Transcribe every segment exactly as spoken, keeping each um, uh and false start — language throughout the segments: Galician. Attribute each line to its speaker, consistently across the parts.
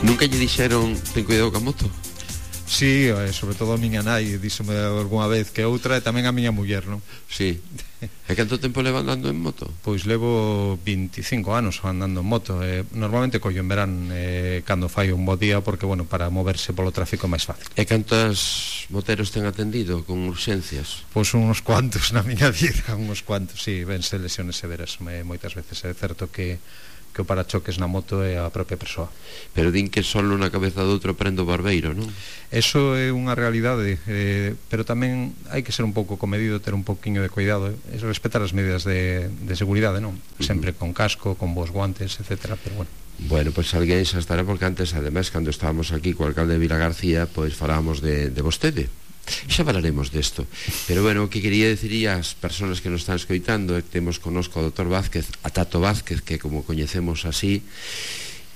Speaker 1: Nunca lle dixeron ten cuidado ca moto?
Speaker 2: Sí, sobre todo a miña nai díxome algunha vez que outra, e tamén a miña muller, non?
Speaker 1: Sí. E canto tempo leva andando en moto?
Speaker 2: Pois levo veinticinco anos andando en moto, eh, normalmente collo en verán eh, cando fai un bo día, porque, bueno, para moverse polo tráfico é máis fácil.
Speaker 1: E cantos moteros ten atendido con urxencias?
Speaker 2: Pois uns cuantos na miña vida, uns cuantos, sí, vense lesiones severas, me, moitas veces é certo que que o parachoques na moto é a propia persoa.
Speaker 1: Pero din que solo na cabeza do outro prende o barbeiro, non?
Speaker 2: Eso é unha realidade, eh, pero tamén hai que ser un pouco comedido, ter un pouquiño de cuidado, e respetar as medidas de, de seguridade, non? Sempre uh -huh. con casco, con bons guantes, etcétera, pero bueno.
Speaker 1: Bueno, pois pues, alguén xa estará, porque antes, ademais, cando estábamos aquí co alcalde de Vilagarcía, pois pues, falábamos de, de vostede. Xa falaremos desto. Pero bueno, o que quería decir as persoas que nos están escoitando é que temos conosco o doutor Vázquez, a Tato Vázquez, que como coñecemos así,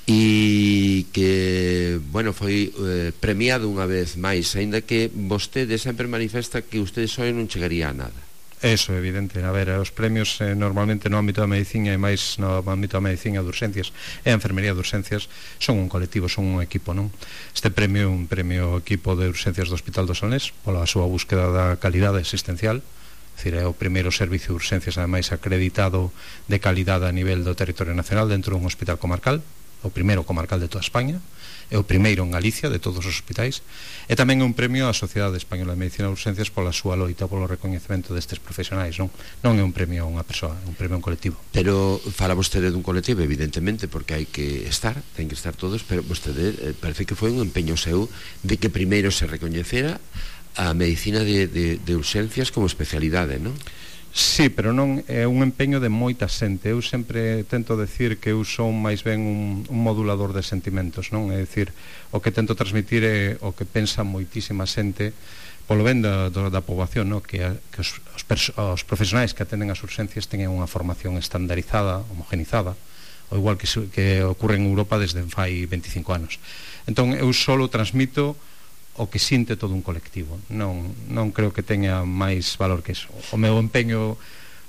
Speaker 1: e que, bueno, foi eh, premiado unha vez máis, aínda que vostede sempre manifesta que usted só non chegaría a nada.
Speaker 2: Eso é evidente, a ver, os premios eh, normalmente no ámbito da medicina e máis no ámbito da medicina de urxencias e a enfermería de urxencias son un colectivo, son un equipo, non? Este premio é un premio equipo de urxencias do Hospital do Salnés pola súa búsqueda da calidade asistencial, é dicir, é o primeiro servicio de urxencias ademais acreditado de calidade a nivel do territorio nacional dentro dun hospital comarcal, o primeiro comarcal de toda España, é o primeiro en Galicia de todos os hospitais, e tamén é un premio á Sociedade Española de Medicina de Urxencias pola súa loita polo recoñecemento destes profesionais, non? Non é un premio a unha persoa, é un premio a un colectivo.
Speaker 1: Pero fala vostede dun colectivo, evidentemente, porque hai que estar, ten que estar todos, pero vostede eh, parece que foi un empeño seu de que primeiro se recoñecera a medicina de, de, de urxencias como especialidade, non?
Speaker 2: Sí, pero non é un empeño de moita xente. Eu sempre tento decir que eu son máis ben un, un modulador de sentimentos, non? É dicir, o que tento transmitir é o que pensa moitísima xente polo ben da, da poboación, non? Que, a, que os, os, os profesionais que atenden as urxencias teñen unha formación estandarizada, homogenizada, o igual que, que ocorre en Europa desde fai veinticinco anos. Entón, eu solo transmito o que sinte todo un colectivo, non, non creo que teña máis valor que eso. O meu empeño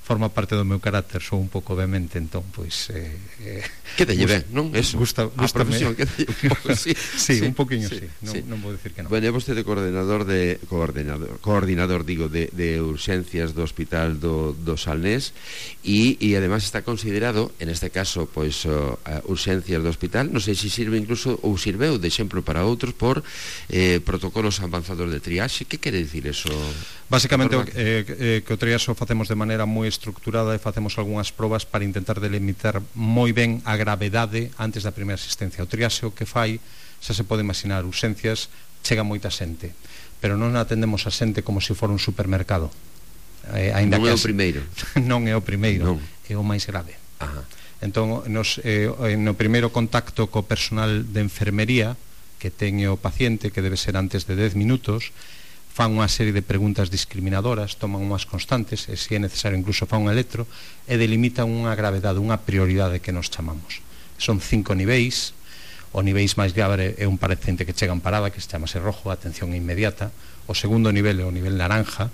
Speaker 2: forma parte do meu carácter, sou un pouco vehemente, entón, pois eh, eh,
Speaker 1: que te lleve, non? Eso,
Speaker 2: gusta,
Speaker 1: a profesión, que te lleve un pouco, sí,
Speaker 2: sí, sí, un poquinho,
Speaker 1: sí,
Speaker 2: sí, non,
Speaker 1: sí.
Speaker 2: non vou dicir que non.
Speaker 1: Bueno, é vostede coordinador de coordinador, coordinador digo, de, de urxencias do Hospital do, do Salnés, e, e además está considerado, en este caso, pois, uh, urxencias do hospital, non sei se sirve incluso, ou sirveu de exemplo para outros, por eh, protocolos avanzados de triaxe. Que quere dicir eso?
Speaker 2: Básicamente, eh, eh, que o triaxe o facemos de maneira moi estructurada e facemos algunhas probas para intentar delimitar moi ben a gravedade antes da primeira asistencia. O triaxe o que fai, xa se pode imaginar, urxencias chega moita xente, pero non atendemos a xente como se fora un supermercado. Eh,
Speaker 1: non
Speaker 2: que
Speaker 1: é o primeiro.
Speaker 2: Non é o primeiro,
Speaker 1: non.
Speaker 2: É o máis grave.
Speaker 1: Ajá.
Speaker 2: Entón, nos, eh, no primeiro contacto co personal de enfermería que ten o paciente, que debe ser antes de dez minutos, fan unha serie de preguntas discriminadoras, toman unhas constantes, e se é necesario incluso fan un electro, e delimitan unha gravedade, unha prioridade que nos chamamos. Son cinco niveis. O niveis máis grave é un paciente que chega en parada, que se chamase rojo, atención inmediata. O segundo nivel é o nivel naranja,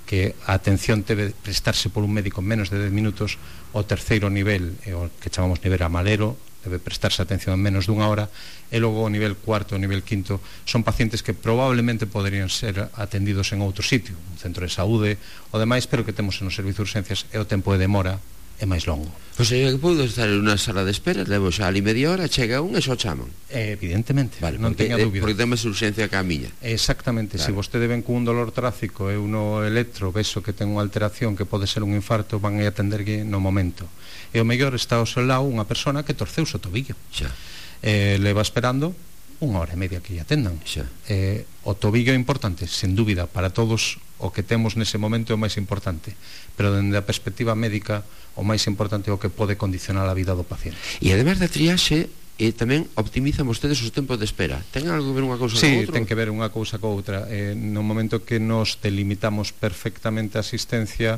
Speaker 2: que a atención debe prestarse por un médico en menos de dez minutos. O terceiro nivel é o que chamamos nivel amarelo, debe prestarse atención en menos dunha hora, e logo o nivel cuarto, o nivel quinto son pacientes que probablemente poderían ser atendidos en outro sitio, un centro de saúde o demais, pero que temos en os servicios de urxencias e o tempo de demora é máis longo.
Speaker 1: O sea, que podo estar en unha sala de espera, levo xa ali media hora, chega un e xo chaman.
Speaker 2: Eh, evidentemente,
Speaker 1: vale,
Speaker 2: non
Speaker 1: porque,
Speaker 2: teña dúbida.
Speaker 1: Porque temos urxencia que a miña.
Speaker 2: Exactamente,
Speaker 1: claro.
Speaker 2: Se vostede ven con un dolor tráfico e uno electro, veso que ten unha alteración que pode ser un infarto, van a atenderlle no momento. E o mellor está ao seu lado unha persona que torceu o tobillo.
Speaker 1: Xa.
Speaker 2: Eh, leva esperando unha hora e media que lle atendan.
Speaker 1: Xa.
Speaker 2: Eh, o tobillo é importante, sen dúbida, para todos o que temos nese momento é o máis importante, pero dende a perspectiva médica o máis importante é o que pode condicionar a vida do paciente.
Speaker 1: E ademais da triaxe, eh, tamén optimizan vostedes os tempos de espera. Ten algo que ver unha cousa
Speaker 2: sí,
Speaker 1: con outra?
Speaker 2: ten que ver unha cousa con outra. Eh, no momento que nos delimitamos perfectamente a asistencia,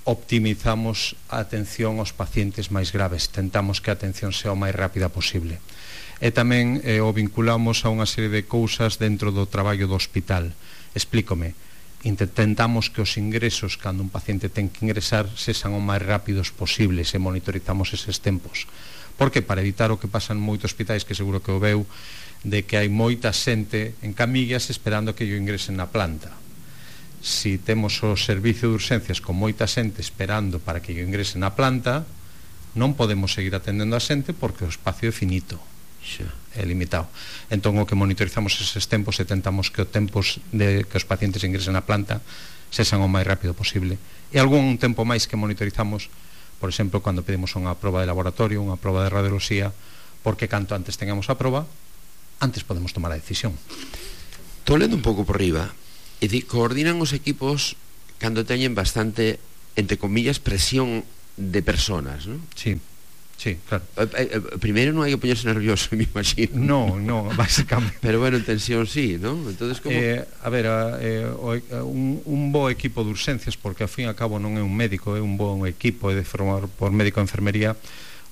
Speaker 2: optimizamos a atención aos pacientes máis graves, tentamos que a atención sea o máis rápida posible. E tamén eh, o vinculamos a unha serie de cousas dentro do traballo do hospital. Explícome. Intentamos que os ingresos, cando un paciente ten que ingresar, sexan o máis rápidos posibles e monitorizamos eses tempos. Porque para evitar o que pasa en moitos hospitais, que seguro que o veu, de que hai moita xente en camillas esperando que yo ingresen na planta. Si temos o servicio de urxencias con moita xente esperando para que yo ingrese na planta, non podemos seguir atendendo a xente porque o espacio é finito, é limitado. Entón o que monitorizamos eses tempos e tentamos que os tempos de que os pacientes ingresen na planta sexan o máis rápido posible. E algún tempo máis que monitorizamos, por exemplo, cando pedimos unha proba de laboratorio, unha proba de radioloxía, porque canto antes tengamos a proba, antes podemos tomar a decisión.
Speaker 1: Estou lendo un pouco por riba, e di, coordinan os equipos cando teñen bastante, entre comillas, presión de personas, non?
Speaker 2: Sí, sí, claro.
Speaker 1: eh, eh, Primeiro non hai que poñerse nervioso, me imagino.
Speaker 2: No, no, básicamente.
Speaker 1: Pero bueno, en tensión sí, non? Entonces, como...
Speaker 2: Eh, a ver, eh, un, un bo equipo de urxencias, porque ao fin e ao cabo non é un médico, é un bo equipo, é de formar por médico de enfermería.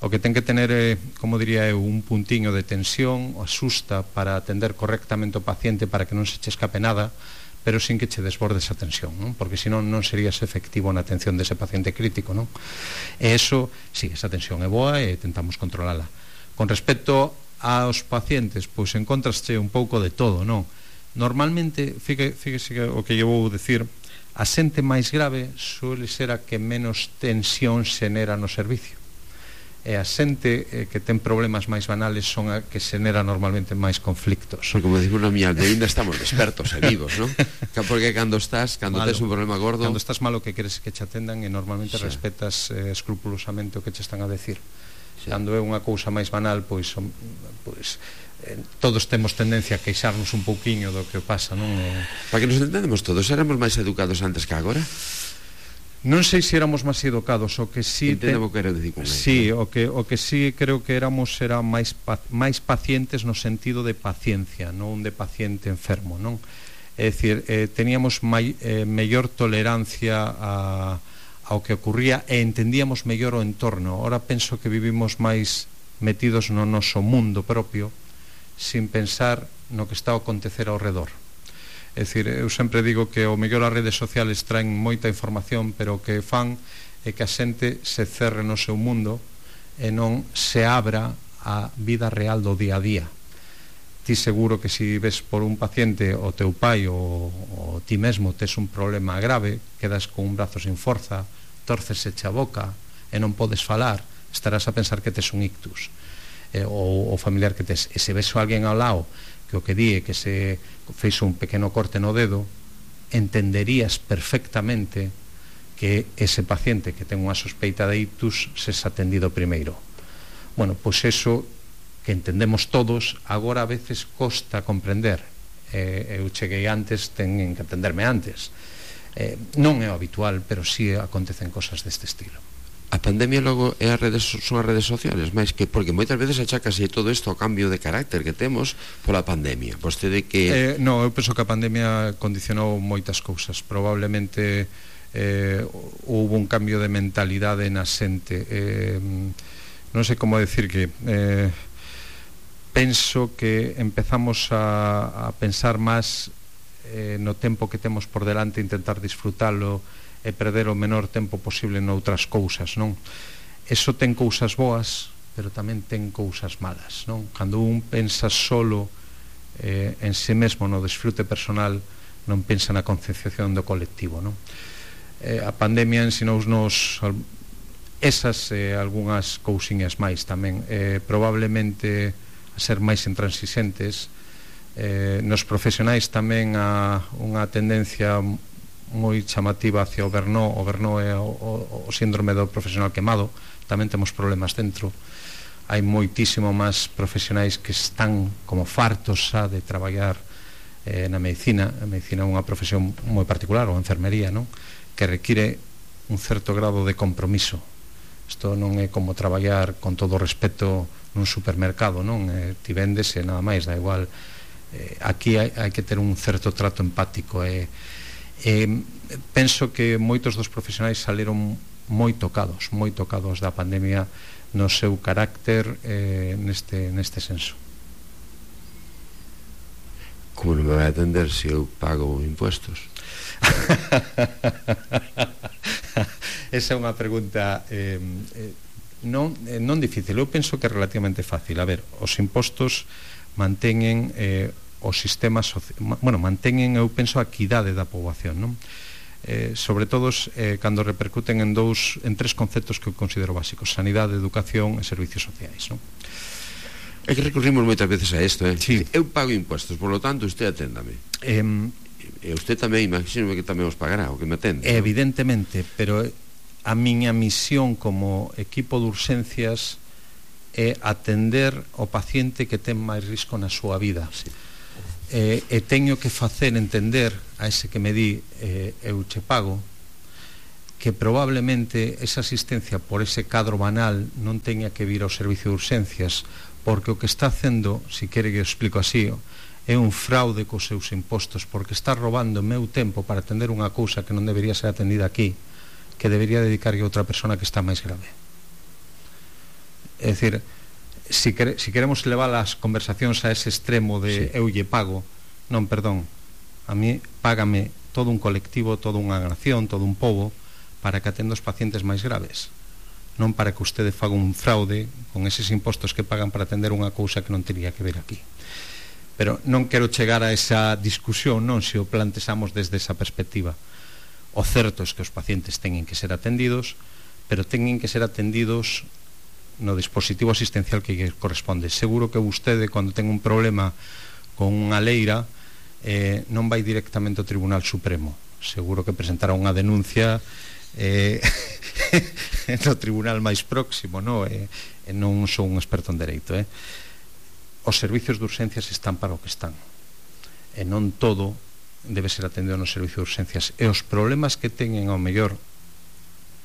Speaker 2: O que ten que tener, eh, como diría eu, un puntiño de tensión, o asusta para atender correctamente o paciente para que non se che escape nada, pero sin que che desborde esa tensión, non? Porque senón non serías efectivo na atención dese paciente crítico, non? E eso, sí, esa tensión é boa e tentamos controlala. Con respecto aos pacientes, pois encontraste un pouco de todo, non? Normalmente, fíjese que o que eu vou decir, a xente máis grave suele ser a que menos tensión xenera no servicio. E a xente eh, que ten problemas máis banales son a que xenera normalmente máis conflictos.
Speaker 1: Porque, como digo na miña alde, ainda estamos expertos e vivos, non? Porque cando estás, cando tes un problema gordo,
Speaker 2: cando estás malo, que queres que che atendan e normalmente sí, respetas eh, escrupulosamente o que che están a decir. Sí. Cando é unha cousa máis banal, pois, son, pois eh, todos temos tendencia a queixarnos un pouquiño do que pasa, non? Eh...
Speaker 1: Para que nos entendemos todos, éramos máis educados antes que agora?
Speaker 2: Non sei se éramos máis educados, o que si
Speaker 1: Entendo o que quero dicir con eso.
Speaker 2: Sí, o que o que si creo que éramos era máis pa, máis pacientes no sentido de paciencia, non de paciente enfermo, non? É dicir, eh, teníamos mai, eh, mellor tolerancia a ao que ocurría e entendíamos mellor o entorno. Ora penso que vivimos máis metidos no noso mundo propio sin pensar no que está a acontecer ao redor. É dicir, eu sempre digo que o mellor as redes sociales traen moita información, pero o que fan é que a xente se cerre no seu mundo e non se abra a vida real do día a día. Ti seguro que se ves por un paciente o teu pai ou, ou ti mesmo tes un problema grave, quedas con un brazo sin forza, torcese a boca e non podes falar, estarás a pensar que tes un ictus, eh, ou o familiar que tes. E se ves a alguén ao lado que o que di é que se feixo un pequeno corte no dedo, entenderías perfectamente que ese paciente que ten unha sospeita de ictus se ha atendido primeiro. Bueno, pois eso que entendemos todos, agora a veces costa comprender. Eh, eu cheguei antes, teñen que atenderme antes. Eh, non é o habitual, pero sí acontecen cosas deste estilo.
Speaker 1: A pandemia logo é as redes, son as redes sociales, máis que porque moitas veces achacase todo isto ao cambio de carácter que temos pola pandemia. Vostede que...
Speaker 2: Eh, no, eu penso que a pandemia condicionou moitas cousas. Probablemente eh, houve un cambio de mentalidade na xente. Eh, non sei como decir que... Eh, penso que empezamos a, a pensar máis eh, no tempo que temos por delante, intentar disfrutalo e perder o menor tempo posible noutras cousas, non? Eso ten cousas boas, pero tamén ten cousas malas, non? Cando un pensa solo eh, en si mesmo no disfrute personal, non pensa na concienciación do colectivo, non? Eh, a pandemia ensinounos esas e eh, algunhas cousiñas máis tamén, eh, probablemente a ser máis intransigentes, eh, nos profesionais tamén a unha tendencia moi chamativa hacia o Berno. O Berno é o, o, o síndrome do profesional quemado. Tamén temos problemas dentro. Hai moitísimo máis profesionais que están como fartos xa de traballar eh, na medicina. A medicina é unha profesión moi particular, ou a enfermería, non? Que require un certo grado de compromiso. Isto non é como traballar con todo o respeto nun supermercado, non? Eh, ti vendes e nada máis, da igual. Eh, aquí hai, hai que ter un certo trato empático e eh, Eh, penso que moitos dos profesionais saleron moi tocados, moi tocados da pandemia no seu carácter eh, neste, neste senso.
Speaker 1: Como non me vai atender se eu pago impuestos?
Speaker 2: Esa é unha pregunta eh, eh, non, eh, non difícil, eu penso que é relativamente fácil. A ver, os impostos manteñen eh, o sistema soci... bueno, manteñen, eu penso, a equidade da poboación, non? Eh, sobre todo eh, cando repercuten en dous, en tres conceptos que eu considero básicos: sanidade, educación e servicios sociais, non?
Speaker 1: É que recurrimos moitas veces a isto, eh?
Speaker 2: Sí.
Speaker 1: Eu pago impuestos, por lo tanto, usted aténdame.
Speaker 2: Eh,
Speaker 1: e usted tamén, imagino que tamén os pagará, o que me atende.
Speaker 2: Evidentemente, ¿no? Pero a miña misión como equipo de urxencias é atender o paciente que ten máis risco na súa vida.
Speaker 1: Sí.
Speaker 2: Eh, e teño que facer entender a ese que me di eh, eu che pago que probablemente esa asistencia por ese cadro banal non teña que vir ao servicio de urxencias, porque o que está facendo, si quere que eu explico así, é un fraude cos seus impostos, porque está robando meu tempo para atender unha cousa que non debería ser atendida aquí, que debería dedicarlle a outra persona que está máis grave. É dicir, si, quere, si queremos levar as conversacións a ese extremo de sí. eu lle pago, non, perdón, a mí págame todo un colectivo, toda unha nación, todo un pobo, para que atenda os pacientes máis graves, non para que usted faga un fraude con eses impostos que pagan para atender unha cousa que non teria que ver aquí. Pero non quero chegar a esa discusión, non, se o plantexamos desde esa perspectiva. O certo é que os pacientes teñen que ser atendidos, pero teñen que ser atendidos no dispositivo asistencial que lle corresponde. Seguro que vostede, cando ten un problema con unha leira, eh, non vai directamente ao Tribunal Supremo. Seguro que presentará unha denuncia eh, no tribunal máis próximo, no? Eh, eh, non sou un experto en dereito, eh? Os servicios de urxencias están para o que están, e non todo debe ser atendido no servicio de urxencias, e os problemas que teñen ao mellor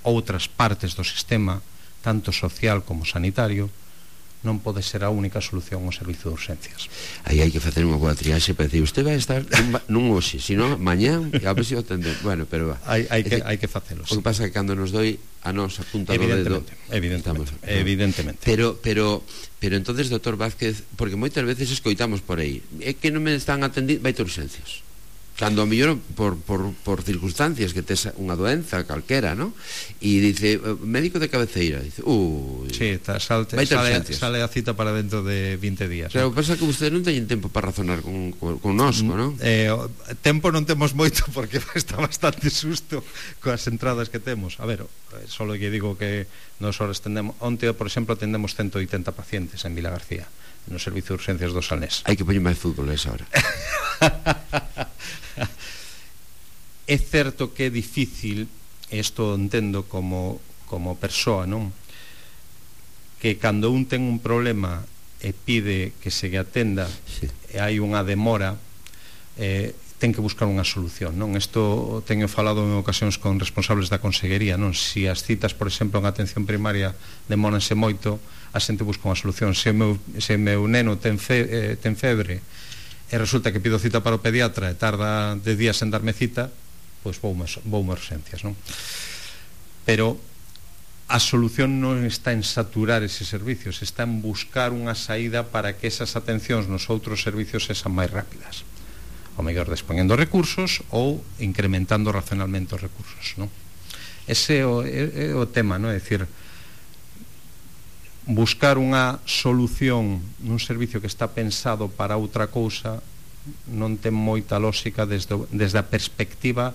Speaker 2: outras partes do sistema, tanto social como sanitario, non pode ser a única solución ao servicio de urxencias.
Speaker 1: Aí hai que facer unha boa triaxe para decir, usted vai estar nun hoxe, senón mañán, e a ver se o atender. Bueno, pero va.
Speaker 2: Hai, hai, que, hai que facelo.
Speaker 1: O que pasa é que cando nos doi a nos a punta do dedo,
Speaker 2: evidentemente,
Speaker 1: estamos,
Speaker 2: evidentemente.
Speaker 1: Pero, pero, pero entonces, doutor Vázquez, porque moitas veces escoitamos por aí, é que non me están atendindo, vai ter urxencias. Cando a mellor por, por, por circunstancias que tes unha doenza calquera, ¿no? E dice, médico de cabeceira, dice, uh,
Speaker 2: sí, ta, salte, sale, sale a cita para dentro de vinte días.
Speaker 1: Claro,
Speaker 2: ¿no?
Speaker 1: Pasa que ustedes non teñen tempo para razonar con, con, con nosco, ¿no?
Speaker 2: Eh, tempo non temos moito, porque está bastante susto coas entradas que temos. A ver, solo que digo que nos horas tendemos, onte, por exemplo, atendemos ciento oitenta pacientes en Vilagarcía, no servicio de urxencias do Salnés.
Speaker 1: Hai que poñer máis fútbol a esa hora.
Speaker 2: É certo que é difícil, isto entendo como, como persoa, non? Que cando un ten un problema e pide que se lle atenda, sí. E hai unha demora, eh, ten que buscar unha solución, non? Isto teño falado en ocasións con responsables da Consellería, non? Si as citas, por exemplo, en atención primaria demóranse moito, a xente busca unha solución. Se o meu, se meu neno ten, fe, eh, ten febre e resulta que pido cita para o pediatra e tarda de días en darme cita, pois voume, voume urxencias, non? Pero a solución non está en saturar eses servicios, está en buscar unha saída para que esas atencións nos outros servicios sexan máis rápidas, ou mellor dispoñendo recursos ou incrementando racionalmente os recursos, non? Ese é o, é, é o tema, non? É dicir, buscar unha solución nun servicio que está pensado para outra cousa non ten moita lógica desde, desde a perspectiva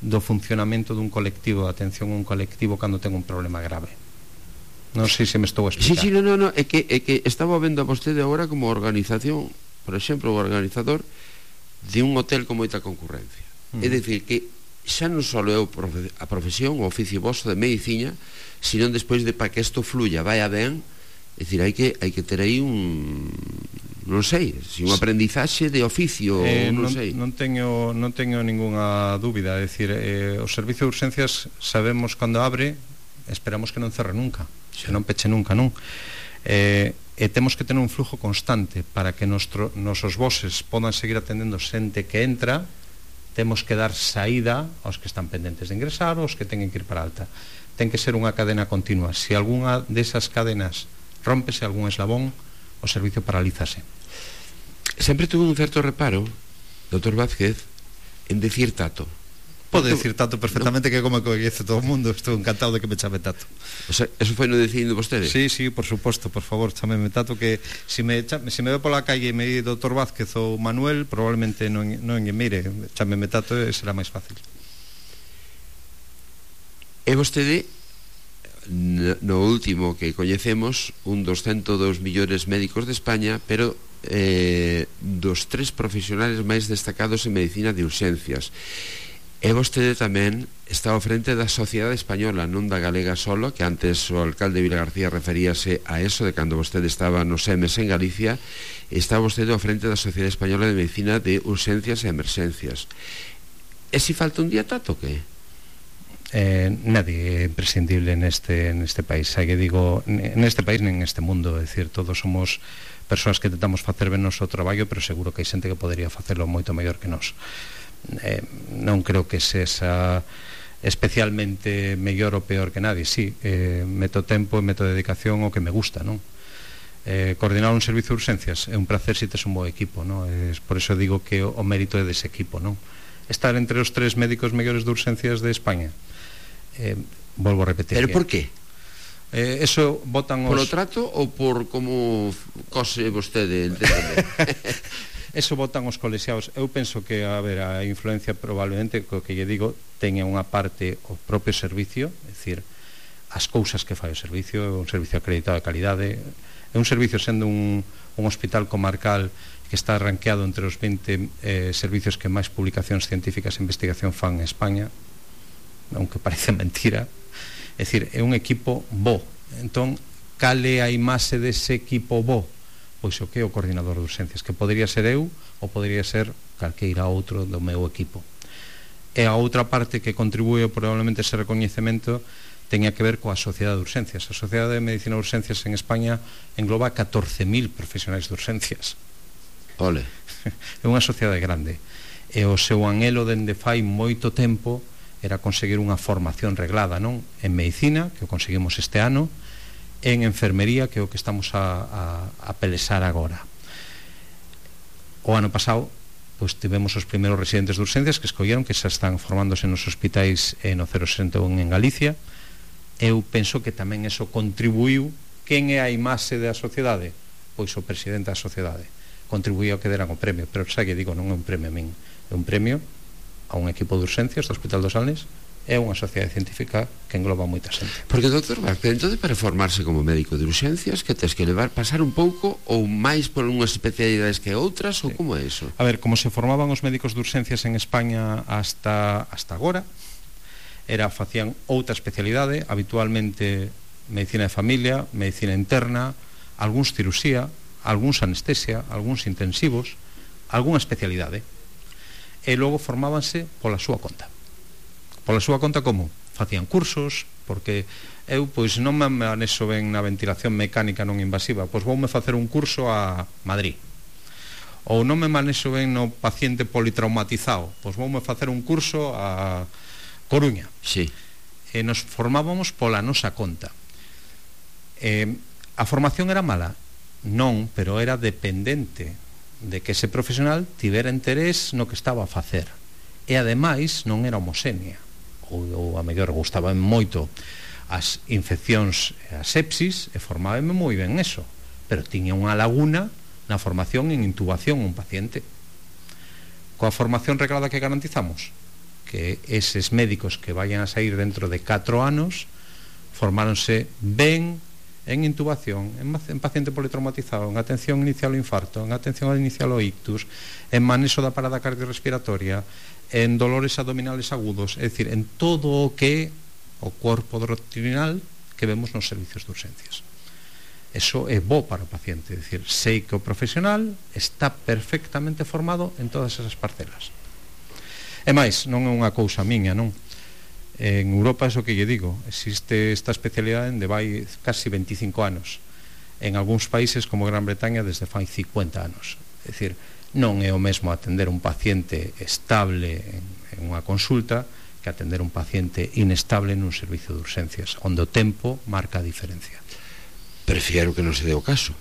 Speaker 2: do funcionamento dun colectivo, de atención a un colectivo cando ten un problema grave. Non sei se me estou a explicar.
Speaker 1: Sí, sí, no, no, no, é que, é que estaba vendo a vostede agora como organización, por exemplo, o organizador de un hotel con moita concurrencia. Mm. É dicir, que xa non só é a profesión, o oficio vosso de medicina, sino despois de para que isto fluya, vaya ben, é dicir, hai que, hai que ter aí un... non sei, si un aprendizaxe de oficio,
Speaker 2: eh,
Speaker 1: non,
Speaker 2: non
Speaker 1: sei.
Speaker 2: Non teño, non teño ninguna dúbida, é dicir, eh, o servicio de urxencias sabemos cando abre, esperamos que non cerre nunca, sí. Que non peche nunca, non? Eh, e temos que tener un flujo constante para que nostro, nosos voces podan seguir atendendo xente que entra, temos que dar saída aos que están pendentes de ingresar, aos que teñen que ir para alta. Ten que ser unha cadena continua. Se algunha desas cadenas rómpese, algún eslabón, o servicio paralízase.
Speaker 1: Sempre tuve un certo reparo, doutor Vázquez, en decir tato.
Speaker 2: Pode decir Tato perfectamente, no? Que como coñece todo o mundo, estou encantado de que me chame Tato.
Speaker 1: O sea, eso foi no dicindo vostede?
Speaker 2: Sí, sí, por suposto, por favor, chameme Tato, que se me, chame, se me ve pola calle e me di doutor Vázquez ou Manuel, probablemente non, non mire, chameme Tato e será máis fácil.
Speaker 1: E vostede, no último que coñecemos, un dos ciento dous millóns médicos de España, pero eh, dos tres profesionales máis destacados en medicina de urxencias. E vostede tamén está ao frente da Sociedade Española, non da galega solo, que antes o alcalde Vilagarcía referíase a eso de cando vostede estaba nos E M S en Galicia. Está vostede ao frente da Sociedade Española de Medicina de Urxencias e Emerxencias. E si falta un día Tato, que?
Speaker 2: Eh, nadie é imprescindible neste, neste país, hai que digo, neste país nen neste mundo, é dicir, todos somos persoas que tentamos facer ben noso traballo, pero seguro que hai xente que podería facelo moito mellor que nós. Eh, non creo que sexa especialmente mellor ou peor que nadie. Sí, eh, meto tempo e meto dedicación o que me gusta, non? Eh, coordinar un servicio de urxencias é un placer se tes un bo equipo, non? Eh, por eso digo que o, o mérito é dese equipo, non? Estar entre os tres médicos mellores de urxencias de España, eh, volvo a repetir.
Speaker 1: Pero por qué?
Speaker 2: Eh, eso votan os...
Speaker 1: Polo trato ou por como cose vostede, entendendo?
Speaker 2: Eso votan os colexiados. Eu penso que, a ver, a influencia probablemente, co que lle digo, teña unha parte o propio servicio, é dicir, as cousas que fai o servicio, un servicio acreditado de calidade, é un servicio sendo un, un hospital comarcal que está ranqueado entre os vinte eh, servicios que máis publicacións científicas e investigación fan en España, aunque parece mentira. É dicir, é un equipo bo. Entón, cale a imaxe dese equipo bo? Pois o que é o coordinador de urxencias, que podería ser eu ou podería ser calqueira outro do meu equipo. E a outra parte que contribúe probablemente ese recoñecemento teña que ver coa Sociedade de Urxencias. A Sociedade de Medicina de Urxencias en España engloba catorce mil profesionais de urxencias.
Speaker 1: Ole.
Speaker 2: É unha sociedade grande. E o seu anhelo dende fai moito tempo era conseguir unha formación reglada, non? En medicina, que o conseguimos este ano, en enfermería, que é o que estamos a, a, a pelesar agora. O ano pasado, pois tivemos os primeiros residentes de urxencias que escolleron, que xa están formándose nos hospitais e no cero sesenta e un en Galicia. Eu penso que tamén eso contribuiu. Quen é a imaxe da sociedade? Pois o presidente da sociedade contribuiu a que deran o premio, pero xa que digo, non é un premio a min, é un premio a un equipo de urxencias do Hospital dos Salnes. É unha sociedade científica que engloba moita xente.
Speaker 1: Porque, doutor Vázquez, entón para formarse como médico de urxencias, que tes que levar, pasar un pouco ou máis por unhas especialidades que outras, sí. Ou como é iso?
Speaker 2: A ver, como se formaban os médicos de urxencias en España hasta, hasta agora, era, facían outra especialidade, habitualmente medicina de familia, medicina interna, algúns cirusía, algúns anestesia, algúns intensivos, algunha especialidade. E logo formábanse pola súa conta. Pola súa conta como? Facían cursos, porque eu pois non me manexo ben na ventilación mecánica non invasiva, pois voume facer un curso a Madrid. Ou non me manexo ben no paciente politraumatizado, pois voume facer un curso a Coruña.
Speaker 1: Sí.
Speaker 2: E nos formábamos pola nosa conta. Eh, a formación era mala? Non, pero era dependente de que ese profesional tivera interés no que estaba a facer. E ademais non era homoxénea. Ou, ou a mellor gustaba moito as infeccións e a sepsis e formábame moi ben eso, pero tiña unha laguna na formación en intubación un paciente. Coa formación reglada que garantizamos que eses médicos que vayan a sair dentro de catro anos formáronse ben en intubación, en, en paciente politraumatizado, en atención inicial ao infarto, en atención inicial ao ictus, en manexo da parada cardiorrespiratoria, en dolores abdominales agudos, é dicir, en todo o que o corpo doctrinal que vemos nos servicios de urxencias. Eso é bo para o paciente, é dicir, sei que o profesional está perfectamente formado en todas esas parcelas. E máis, non é unha cousa miña, non? En Europa é o que lle digo, existe esta especialidade de vai casi veinticinco anos, en algúns países como Gran Bretaña desde fai cincuenta anos. É dicir, non é o mesmo atender un paciente estable en, en unha consulta que atender un paciente inestable nun servicio de urxencias, onde o tempo marca a diferencia.
Speaker 1: Prefiero que non se dé o caso,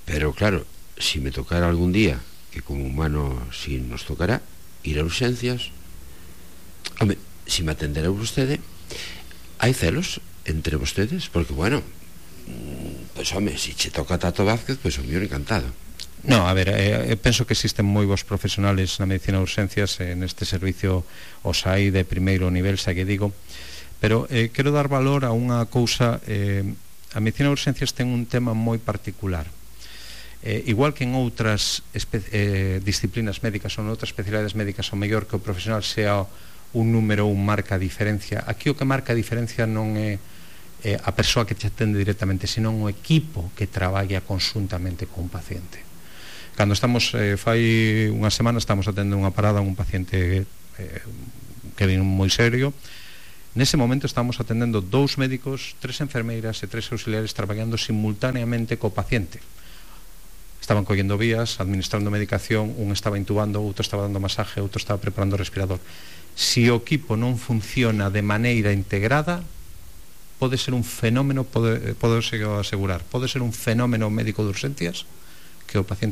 Speaker 1: pero claro, si me tocara algún día, que como humano si nos tocará ir a urxencias, Home, se me atenderá vostede, hai celos entre vostedes, porque, bueno, pois, home, se che toca Tato Vázquez, pois o mío encantado.
Speaker 2: No, a ver, eh, penso que existen moi bons profesionales na medicina de urgencias, eh, neste servicio os hai de primeiro nivel, xa que digo, pero eh, quero dar valor a unha cousa. eh, a medicina de urgencias ten un tema moi particular. Eh, igual que en outras eh, disciplinas médicas ou en outras especialidades médicas, o mellor que o profesional sea un número, un marca a diferencia. Aquí o que marca a diferencia non é eh, a persoa que te atende directamente, senón o equipo que traballa conjuntamente con un paciente. Cando estamos, eh, fai unha semana estamos atendendo unha parada a un paciente eh, que vin moi serio. Nese momento estamos atendendo dous médicos, tres enfermeiras e tres auxiliares traballando simultaneamente co paciente. Estaban collendo vías, administrando medicación, un estaba intubando, outro estaba dando masaje, outro estaba preparando o respirador. Se o equipo non funciona de maneira integrada, pode ser un fenómeno, pode, pode asegurar, pode ser un fenómeno médico de urgencias que o paciente